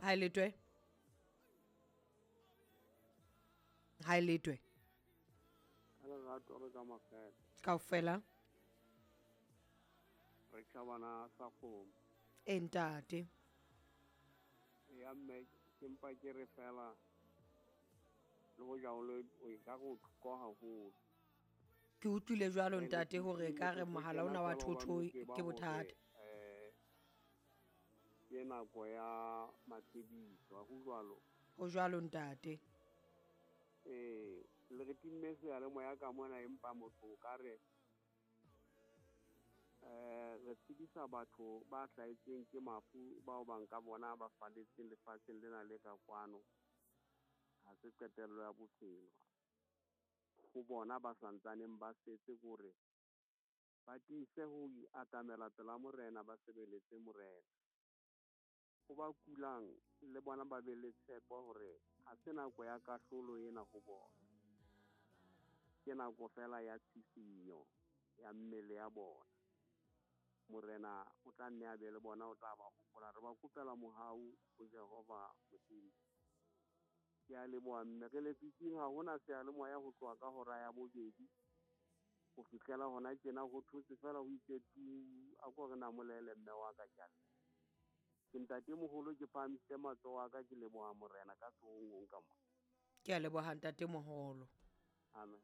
Ha e letwe. Ha e letwe. Ka lerato re ka makgethe. Kaofela. Re tjhabana sa kgomo. E ntate. Ya mme ke mpa ke re fela le hoja o le o ka go thoko haholo. Ke utlwile jwalo ntate hore ka re mohala ona wa thotho ke bothata. Eh ke nako ya matshediso, ha ho jwalo? Ho jwalo ntate. Ee, le re timme seyalemoya ka mona empa motho o ka re eh re tsebisa batho ba hlahetsweng ke mafu bao bang ka bona ba faletseng lefatsheng lena le ka kwano. Ha se qetello ya bophelo. Ho bona ba santsaneng ba setse kore ba tiise ho atamela pela Morena, ba sebeletse Morena. Ho ba kulang le bona ba be le tshepo hore ha se nako ya kahlolo ena ho bona. Ke nako fela ya tshisinyo ya mmele ya bona. Morena o tla nne a be le bona, o tla ba hopola. Re ba kopela mohau ho Jehova Modimo. Ke a leboha mme re lefifing ha hona seyalemoya ho tloha ka hora ya bobedi ho fihlela hona tjena ho thotse fela ho itse tu. A ko re namolele mme wa ka ke a leboha. Ke ntatemoholo ke phahamisitse matsoho a ka ke leboha Morena ka sehong ka mona. Ke a leboha ntatemoholo. Amen.